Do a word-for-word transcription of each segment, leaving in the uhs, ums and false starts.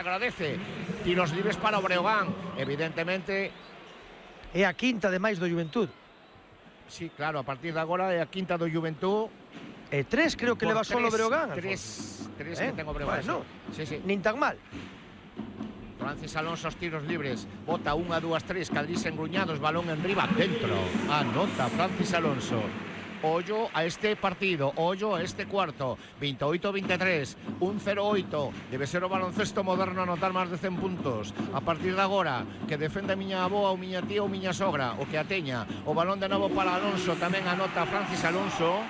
agradece. Tiros libres para o Breogán, evidentemente. É a quinta ademais do Juventud. Sí, claro, a partir de agora é a quinta do Juventud. E tres creo que leva solo o Breogán. Tres, tres eh? que tengo Breogán. Bueno, sí, sí. nin tan mal. Francis Alonso os tiros libres. Bota unha, dúas, tres, Cadrís engruñados, balón en riba, dentro. Anota Francis Alonso. Ollo a este partido, ollo a este cuarto. veintiocho veintitrés, un cero oito. Debe ser o baloncesto moderno anotar máis de cen puntos. A partir de agora, que defende a miña avoa, ou miña tía ou miña sogra, o que a teña. O balón de novo para Alonso, tamén anota Francis Alonso.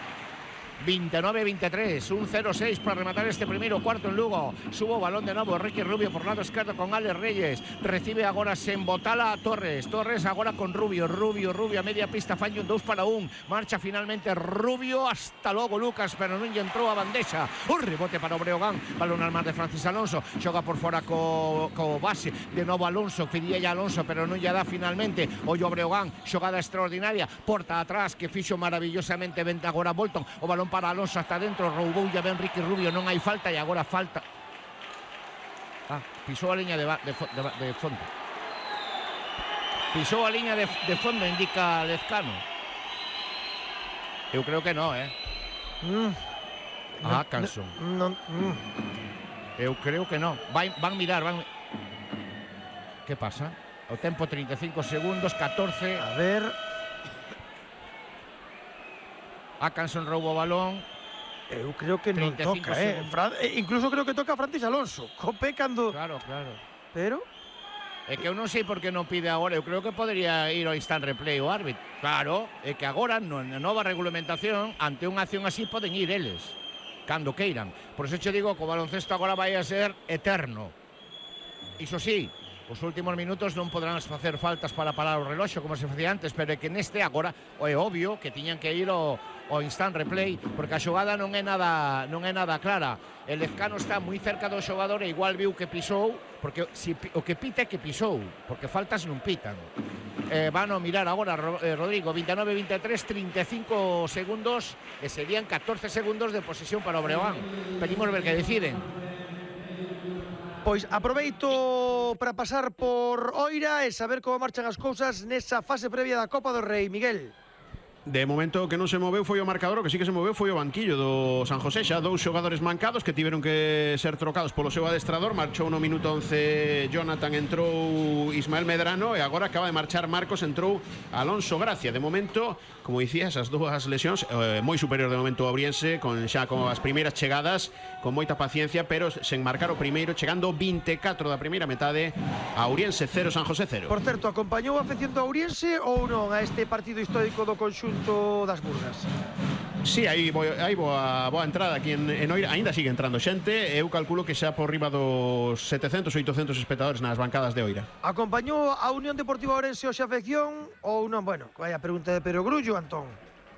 veintinueve veintitrés, un cero seis para rematar este primeiro cuarto en Lugo. Subo balón de novo, Ricky Rubio por lado esquerdo con Alex Reyes. Recibe agora sen botala a Torres. Torres agora con Rubio, Rubio, Rubio a media pista, falla un dos para un. Marcha finalmente Rubio, hasta logo Lucas, pero non lle entrou a bandexa. Un rebote para o Breogán, balón al mar de Francis Alonso. Xoga por fora co, co base, de novo Alonso, pedía ya Alonso, pero non lle dá finalmente. Ollo a Breogán, xogada extraordinaria, porta atrás que fixo maravillosamente venta agora Bolton. O balón para Alonso hasta dentro, roubou ya ben Ricky Rubio, non hai falta e agora falta. Ah, pisou a liña de, de, de, de fondo. Pisou a liña de, de fondo, indica Lezcano. Eu creo que no, eh. Mm. Ah, Canson. No, no, mm. Eu creo que no. Van, van mirar, van. Que pasa? O tempo trinta e cinco segundos, catorce. A ver. Atkinson rouba o balón. Eu creo que non toca, eh. Fran, eh. Incluso creo que toca a Francis Alonso. Cope cando... Claro, claro. Pero... É que eu non sei por que non pide agora. Eu creo que podría ir ao instant replay o árbitro. Claro, é que agora, na nova regulamentación, ante unha acción así, poden ir eles. Cando queiran. Por eso che digo que o baloncesto agora vai a ser eterno. Iso sí, os últimos minutos non podrán facer faltas para parar o reloxo como se facía antes, pero é que neste agora é obvio que tiñan que ir ao, ao instant replay, porque a xogada non é nada non é nada clara. El Lezcano está moi cerca do xogador e igual viu que pisou, porque si, o que pita é que pisou, porque faltas non pitan. Eh, van a mirar agora, eh, Rodrigo, veintinueve veintitrés, trinta e cinco segundos e serían catorce segundos de posesión para o Breogán. Pedimos ver que deciden. Pois aproveito para pasar por Oira e saber como marchan as cousas nesa fase previa da Copa do Rei, Miguel. De momento que non se moveu foi o marcador, o que sí que se moveu foi o banquillo do San José, xa dous xogadores mancados que tiveron que ser trocados polo seu adestrador. Marchou no minuto once Jonathan, entrou Ismael Medrano e agora acaba de marchar Marcos, entrou Alonso Gracia. De momento, como dicías, as dúas lesións eh, moi superior de momento ao Obriense, con xa con as primeiras chegadas, con moita paciencia, pero sen marcar o primeiro, chegando veinticuatro da primeira metade, a Ouriense cero, San José cero. Por certo, acompañou a afección do Ouriense ou non a este partido histórico do conxunto das Burgas? Sí, aí, bo, aí boa, boa entrada aquí en, en Oira. Ainda sigue entrando xente. Eu calculo que xa por riba dos setecentos, oitocentos espectadores nas bancadas de Oira. Acompañou a Unión Deportiva Ourense hoxe a afección ou non? Bueno, vaya pregunta de Pero Grullo, Antón.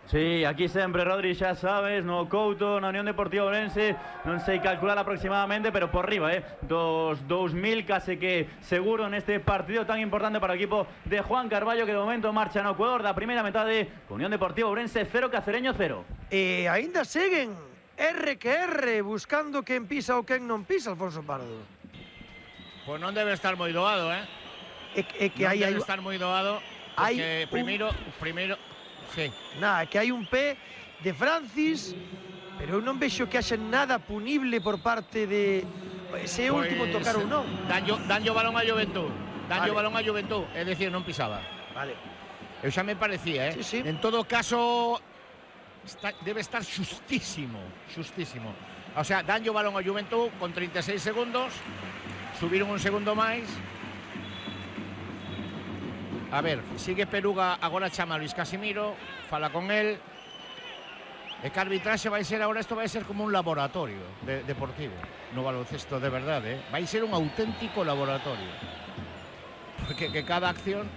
Sí, aquí sempre, Rodri, xa sabes, no Couto, na Unión Deportiva Ourense, non sei calcular aproximadamente, pero por riba, eh, dos dous mil, case que seguro neste partido tan importante para o equipo de Juan Carballo, que de momento marcha no Ecuador da primeira metade, Unión Deportiva Ourense cero, Cacereño cero. E aínda seguen R que R, buscando quen pisa ou quen non pisa, Alfonso Pardo. Pois non debe estar moi doado, eh? É, é que non hai, debe hai, estar moi doado, porque primeiro, un... primeiro... Sí. Nada, que hai un pé de Francis, pero eu non vexo que haxa nada punible por parte de ese pues, último tocar ou non. Danlle, danlle o balón a Juventud. Danlle vale. o balón a Juventud, é dicir, non pisaba. Vale. Eu xa me parecía, eh? Sí, sí. En todo caso, está, debe estar xustísimo, xustísimo. O sea, danlle o balón a Juventud con trinta e seis segundos, subiron un segundo máis. A ver, sigue Peruga, agora chama a Luis Casimiro, fala con él. E que arbitraxe vai ser agora, isto vai ser como un laboratorio de, deportivo no baloncesto, de verdade, eh? Vai ser un auténtico laboratorio. Porque que cada acción...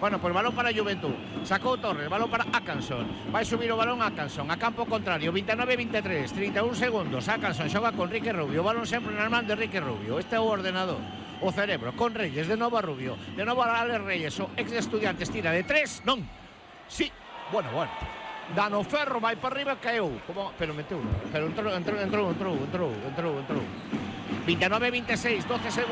Bueno, pues balón para Juventud, sacou Torres, balón para Atkinson, vai subir o balón Atkinson, a campo contrario, veintinueve veintitrés, trinta e un segundos, Atkinson xoga con Ricky Rubio, o balón sempre nas mans de Ricky Rubio, este é o ordenador. O cerebro, con Reyes, de novo a Rubio, de novo a Alex Reyes, o ex de Estudiantes, tira de tres, non, sí, bueno, bueno, Dano Ferro vai para arriba e caeu, como, pero meteu, pero entrou, entrou, entrou, entrou, entrou, entrou, entrou, veintinueve veintiséis, doce segundos.